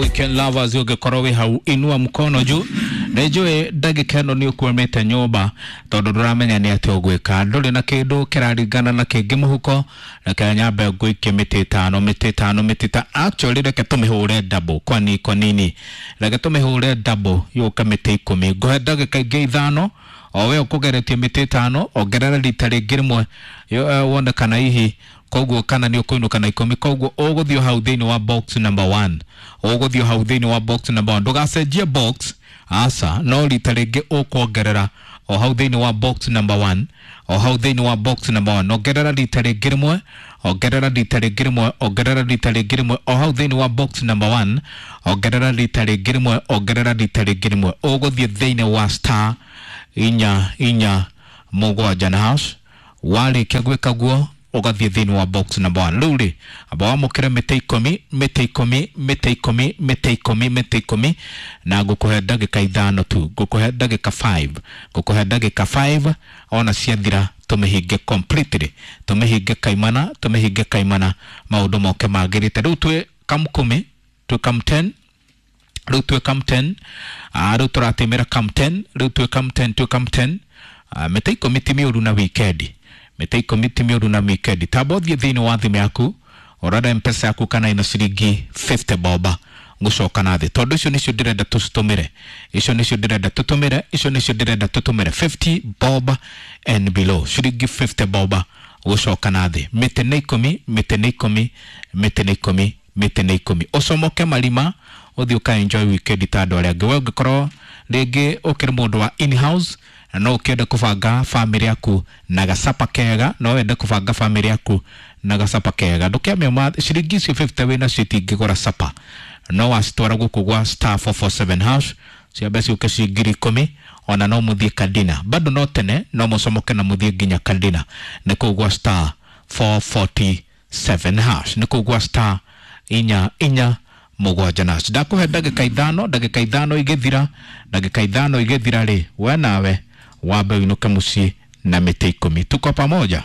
Weekend lovers, ũngĩkorwo wĩ hau inua mkono juu. Nĩ njũĩ ndagĩka ĩno nĩ ũkwamĩte nyũmba tondũ ndũramenya nĩ atĩa ũgwĩka, ndũrĩ na kĩndũ kĩraringana na kĩngĩ mũhuko. Reke nyambe ngũikie mĩtĩ ĩtano, mĩtĩ ĩtano, mĩtĩ ĩtano. Actually reke tũmĩhũre double. Kwani kwa nini? Reke tũmĩhũre double yũke mĩtĩ 10. Ngũhe ndagĩka ingĩ 5, o we ũkũgeretie mĩtĩ 5, ongerera rita rĩngĩ rĩmwe wone kana hihi koguo kana nĩ ũkũinũka na 10. Koguo ũgũthiĩ hau thĩinĩ wa box number 1, ũgũthiĩ hau thĩinĩ wa box number 1, ndũgacenjie box aca, no rita rĩngĩ ũkuongerera o hau thĩinĩ wa box number 1, o hau thĩinĩ wa box number 1, ongerera rita rĩngĩ rĩmwe, ongerera rita rĩngĩ rĩmwe, ongerera rita rĩngĩ rĩmwe, o hau thĩinĩ wa box number 1, ongerera rita rĩngĩ rĩmwe, ongerera rita rĩngĩ rĩmwe. Ũgũthiĩ thĩinĩ wa star 4 4 7 na hash. Warĩkia gwĩka guo ũgathiĩ thĩinĩ wa box number 1. Rĩu rĩ, amba wamũkĩre mĩtĩ 10, mĩtĩ 10, mĩtĩ 10, mĩtĩ 10, mĩtĩ 10, na ngũkũhe ndagĩka 5 tu, ngũkũhe ndagĩka 5, ngũkũhe ndagĩka 5, ona ciathira tũmĩhinge completely, tũmĩhinge kaimana, tũmĩhinge kaimana, maũndũ moke magĩrĩte. Rĩu twĩ kam 10, twĩ kam 10, rĩu twĩ kam 10, rĩu tũratĩmĩra kam 10, rĩu twĩ kam 10, twĩ kam 10. Mĩtĩ 10 ti mĩũru na wikendi, mĩtĩ 10 ti mĩũru na wikendi. Tamba ũthiĩ thĩinĩ wa thimũ yaku ũrore mpesa yaku kana ina ciringi 50 boba gũcoka na thĩ, tondũ icio nĩcio ndĩrenda tũcitũmĩre, icio nĩcio ndĩrenda tũtũmĩre, icio nĩcio ndĩrenda tũtũmĩre, 50 bob and below, ciringi 50 boba gũcoka na thĩ. Mĩtĩ nĩ 10, mĩtĩ nĩ 10, mĩtĩ nĩ 10, mĩtĩ nĩ 10. Ũcomoke marima ũthiĩ ũka enjoy weekend ta andũ arĩa angĩ. We ũngĩkorwo rĩngĩ ũkĩrĩ mũndũ wa in house na no ũkĩende kũbanga famĩlĩ yaku na gacapa kega, no wende kũbanga famĩlĩ yaku na gacapa kega, ndũkĩame ma ciringi icio 50 wĩna cio itingĩgũra capa, no wacitwara gũkũ gwa star 447 hash ciambe ciũke ci 10,000, ona no mũthiĩ kadina bado no tene, no mũcomoke na mũthiĩ nginya kadina. Nĩ kũu gwa star 447 hash, nĩ kũu gwa star 4 4 7 na hash. Ndakũhe ndagĩka 5, ndagĩka 5 igĩthira, ndagĩka 5 igĩthira rĩ, we nawe wambe ũinũke mũciĩ na mĩtĩ 10. Tuko pamoja.